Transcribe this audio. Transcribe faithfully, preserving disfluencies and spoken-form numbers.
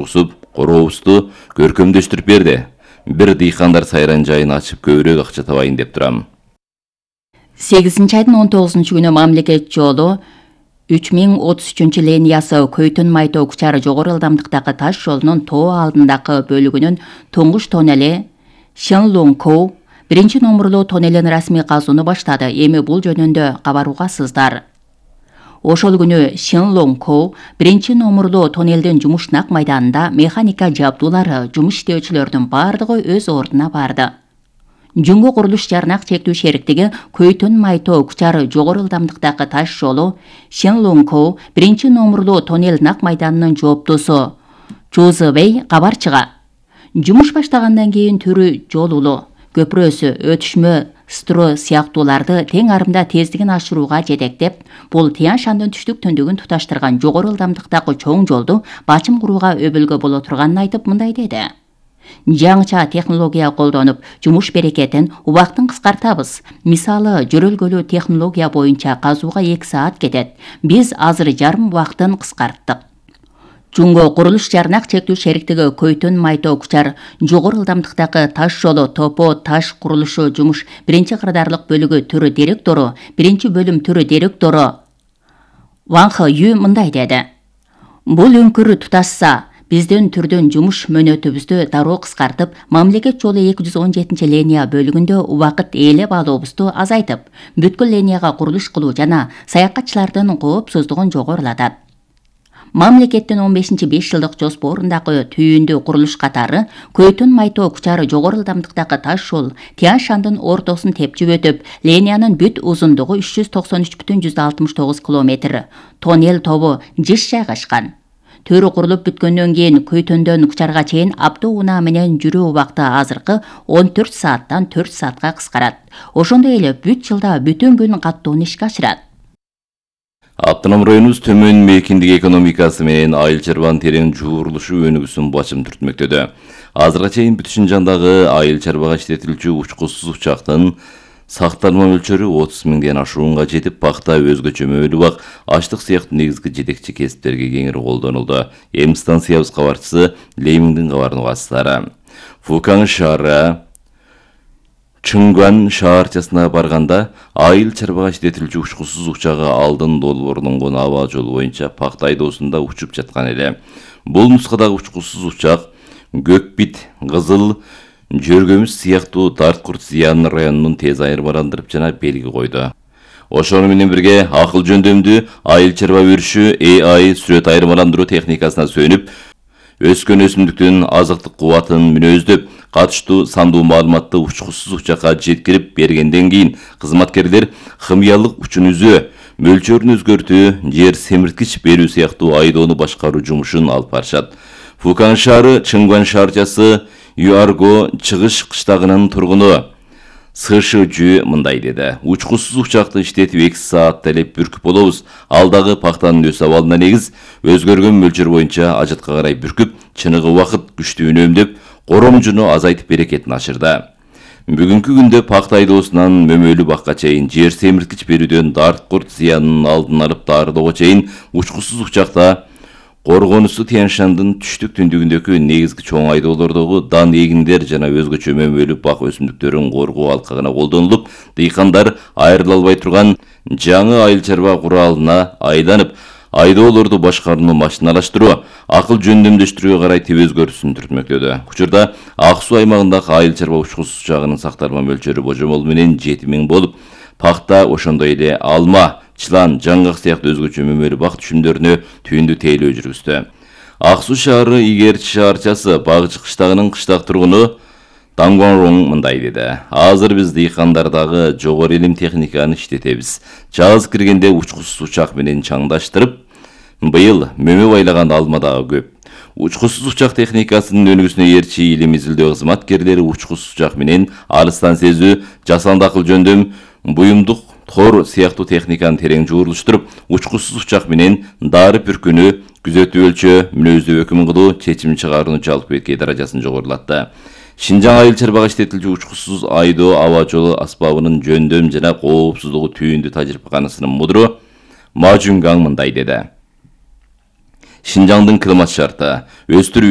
ургусуп, корообузду көркөмдөштүрүп берди. Бир дыйкандар сайран жайын ачып көбүрөөк акча табайын деп турам. сегизинчи айдын он тогузунчу күнү мамлекет жолу үч миң отуз үчүнчү линиясы Көйтөн Майтоо Кучар жогору ылдамдыктагы таш жолунун тоо алдындагы бөлүгүнүн туңгуч тоннели Шенлонгкоу биринчи номурлуу тоннелин расмий казууну баштады. Эми бул жөнүндө кабаруугасыздар. Ошол күнү Шенлонгкоу биринчи номурлуу тоннелдин жумуш нак майданында механика жабдуулары, жумуш иштөөчүлөрдүн бардыгы өз ордуна барды. Жуңго курулуш жарнак чектүү шериктиги Көйтөн Майтоо Кучар жогору ылдамдыктагы таш жолу Шенлонгкоу биринчи номурлуу тоннел нак майданынын жооптосу Чузыбей кабар чыга. Жумуш баштагандан кийин түрү жолулу, көпүрөсү, өтүшмө, стро сыяктууларды тең арымда тездигин ашырууга жетектеп, бул Тянь Шандын түштүк түндүгүн туташтырган жогору ылдамдыктагы чоң жолду бачым курууга өбөлгө боло турганын айтып мындай деди. Жаңыча технология колдонуп, жумуш берекетин, убактын кыскартабыз. Мисалы, жөрөлгөлүү технология боюнча казууга эки саат кетет. Биз азыр жарым убактын кыскарттык. Жуңго курулуш жарнак чектүү шериктиги Көйтөн Майтоо Кучар жогору ылдамдыктагы таш жолу топо таш курулушу жумуш биринчи кырдаарлык бөлүгү түрү директору, биринчи бөлүм түрү директору Ван Хэ Ю мындай деди. Бул өңкүр туташса, биздин түрдүн жумуш мөөнөтүбүздү дароо кыскартып, мамлекет жолу эки жүз он жетинчи линия бөлүгүндө убакыт ээлеп алуубузду азайтып, бүткүл линияга курулуш кылуу жана саякатчылардын коопсуздугун жогорулатат. Мамлекеттин он бешинчи беш жылдык жоспорундагы түйүндүү курулуш катары Көйтөн Майтоо Кучар жогору ылдамдыктагы таш жол Тянь Шандын ортосун тепчип өтүп, линиянын бүт узундугу үч жүз токсон үч бүтүн жүз алтымыш тогуз километр. Тоннел тобу жыш жайгашкан. Төрү курулуп бүткөндөн кийин Көйтөндөн Кучарга чейин автоунаа менен жүрүү убакыты азыркы он төрт сааттан төрт саатка кыскарат. Ошондой эле бүт жылда бүтүн күн каттууну ишке ашырат. Автоном районубуз төмөн мейкиндик экономикасы менен айыл чарбанын терең жуурулушу өнүгүүсүн бачым түртмөктөдө. Азырга чейин бүт Шынжаңдагы айыл чарбага иштетилчү учкусуз учактын сакталма мөлчөрү отуз миңден ашуунга жетип, пахта, өзгөчө мөөлүү бак, аштык сыяктуу негизги жетекчи кесиптерге кеңири колдонулду. Эми станциябыз кабарчысы Леймиңдин кабарын угасыздар. Фукан шаары Чыңган шаарчасына барганда айыл чарбага иштетилчү учкусуз учагы алдын долбоорлонгон аба жолу боюнча пахта айдоосунда учуп жаткан эле. Бул нускадагы учкусуз учак көкбит, кызыл жөргөмүс сыяктуу дарт курт зыянын районунун тез айырмаландырып жана белги койду. Ошону менен бирге акыл жөндөмдүү айыл чарба өрүшү А I сүрөт айырмаландыруу техникасына сүйөнүп, өскөн өсүмдүктүн азыктык кубатын мүнөздөп, катыштуу сандуу маалыматты учкусуз учакка жеткирип бергенден кийин кызматкерлер химиялык учун үзөө, мөлчөрүн өзгөртүү, жер семирткич берүү сыяктуу айдоону башкаруу жумушун алып барышат. Фукан шаары Чыңган шаарчасы Юарго чыгыш кыштагынын тургуну Сышыжү мындай деди. Учкусуз учакты иштетип эки саат талеп бүркүп болобуз. Алдагы пахтанын өс абалына негиз өзгөргөн мөлчөр боюнча ажатка карай бүркүп, чыныгы убакыт күчтүү үнөмдөп, коромжуну азайтып берекетин ашырды. Бүгүнкү күндө пахта айдоосунан мөмөлүү бакка чейин, жер семирткич берүүдөн дарт курт зыянын алдын алып даарылоого чейин учкусуз учакта коргонусу Тянь Шандын түштүк түндүгүндөгү негизги чоң айдоолордогу дан эгиндер жана өзгөчө мөмөлүү бак өсүмдүктөрүн коргоо алкагына колдонулуп, дыйкандар айрыла албай турган жаңы айыл чарба куралына айланып, айдоолорду башкарууну машиналаштыруу, акыл жөндөмдөштүрүүгө карай теб өзгөрүүсүн түртмөктөдө. Учурда Ак суу аймагындагы айыл чарба учкусуз учагынын сакталма мөлчөрү божомол менен жети миң болуп, пахта ошондой эле алма, чылан, жаңгак сыяктуу өзгөчө мөмөлүү бак түшүмдөрүнө түйүндү тейлөө жүргүздү. Ак суу шаары Игерчи шаарчасы Багчы кыштагынын кыштак тургуну Дангуанрон мындай деди. Азыр биз дыйкандардагы жогору илим техниканы иштетебиз. Жаз киргенде учкусуз учак менен чаңдаштырып, быйыл мөмө байлаган алма дагы көп. Учкусуз учак техникасынын өнүгүүсүнө эрчи илим изилдөө кызматкерлери учкусуз учак менен алыстан сезүү, жасанды акыл жөндөм, буюмдук тор сыяктуу техниканы терең жуурулуштуруп, учкусуз учак менен дары бүркүнү, күзөтүү өлчөө, мүнөздүү өкүм кылуу, чечим чыгарууну жалпы эки даражасын жогорулатты. Шинжаң айыл чарбага иштетилчү учкусуз айдоо аба жолу аспабынын жөндөм жана коопсуздугу түйүндү тажрыйбаканасынын мудуру Ма Жунгаң мындай деди. Шинжаңдын климат шарты, өстүрүү